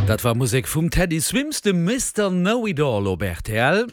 Dat war Musek vum Teddy Swims, dem Mister Know It All op rtl.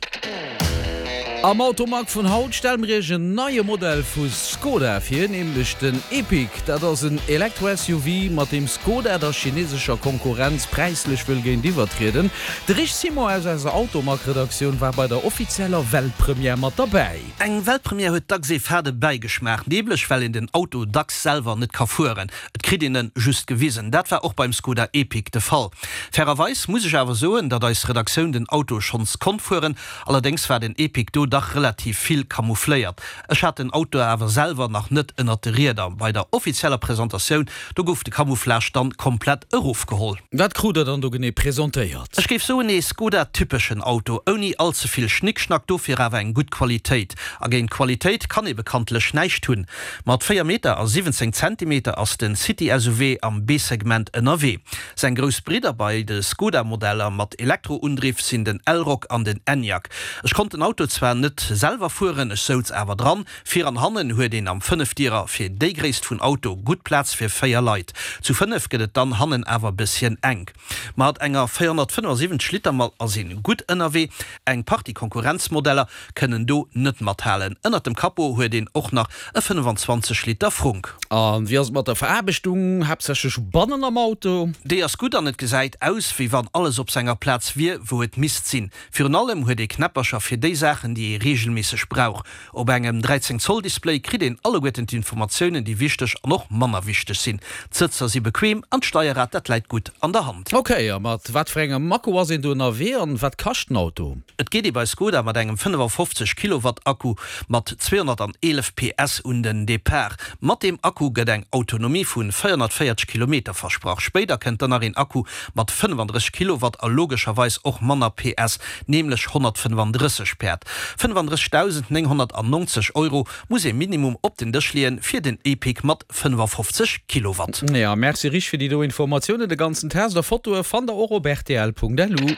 Am Automag vun haut stelle mir iech en neie Modell vu Skoda vir, nämlech den Epiq. Dat ass en Elektro-SUV, mat deem Skoda der chinesescher Konkurrenz präislech wëll géintiwwer trieden. De Rich Simon aus eiser Automag-Redaktioun war bei der offizieller Weltpremière mat derbäi. Eng Weltpremière huet dacks ee fade Bäigeschmaach, nämlech well een den Auto dacks selwer net ka fueren. Et kritt een en just gewisen. Dat war och beim Skoda Epiq de Fall. Fairerweis muss ech awer soen, datt eis Redaktioun den Auto schonns konnt fueren. Allerdéngs war den Epiq do dach relativ vill camoufléiert. Ech hat den Auto awer selwer nach net ënnert de Rieder. Bei der offizieller Presentatioun, do gouf de Camouflage dann komplett erofgeholl. Wat krut der dann do genee presentéiert? Ech géif soen ee Skoda-typeschen Auto, ouni all ze vill Schnickschnack, dofir awer eng gutt Qualitéit. A géint Qualitéit kann ee bekanntlech näischt hunn. Mat 4 Meter a 17 Zentimeter ass den City-SUV am B-Segment ënnerwee. Seng grouss Bridder bei de Skoda-Modeller mat Elektro-Undriff sinn den Elroq an den Enyaq. Ech konnt den Auto zwar net selwer fueren, ech souz awer dran. Vir an hannen huet een am Fënnefdierer fir déi Gréisst vun Auto gutt Plaz fir 4 Leit. Zu 5 gëtt et dann hannen awer bësschen enk. Mat enger 475 Liter Mall ass een gutt ënnerwee. Eng Partie Konkurrenzmodeller kënnen do net mathalen. Ënnert dem Capot huet een och nach e 25 Liter Frunk. A wéi ass et mat der Veraarbechtung, haaptsächlech bannen am Auto? Déi ass gutt an et gesäit aus wéi wann alles op senger Plaz wier wou et misst sinn. Virun allem huet ee Knäppercher fir déi Saachen déi ee reegelméisseg brauch. Op engem 13 Zoll Display kritt een alleguerten d'Informatiounen déi wichteg an och manner wichteg sinn. D'Sëtzer si bequem an d'Steierrad dat läit gutt an der Hand. Ok, a mat wat fir engem Akku ass een do ënnerwee an wat kascht den Auto? Et geet ee bei Skoda mat engem 55 Kilowatt Akku mat 211 PS un den Depart. Mat deem Akku gëtt eng Autonomie vu 440 Kilometer versprach. Spéider kënnt dann nach een Akku mat 35 Kilowatt a logescherweis och manner PS, nämlech 135 Päerd. 35.990 Euro muss ee Minimum op den Dësch leeën fir den Epiq mat 55 Kilowatt. Ja, merci Rich fir déi do Informatiounen. De ganzen Test a Fotoe fannt der och op rtl.lu.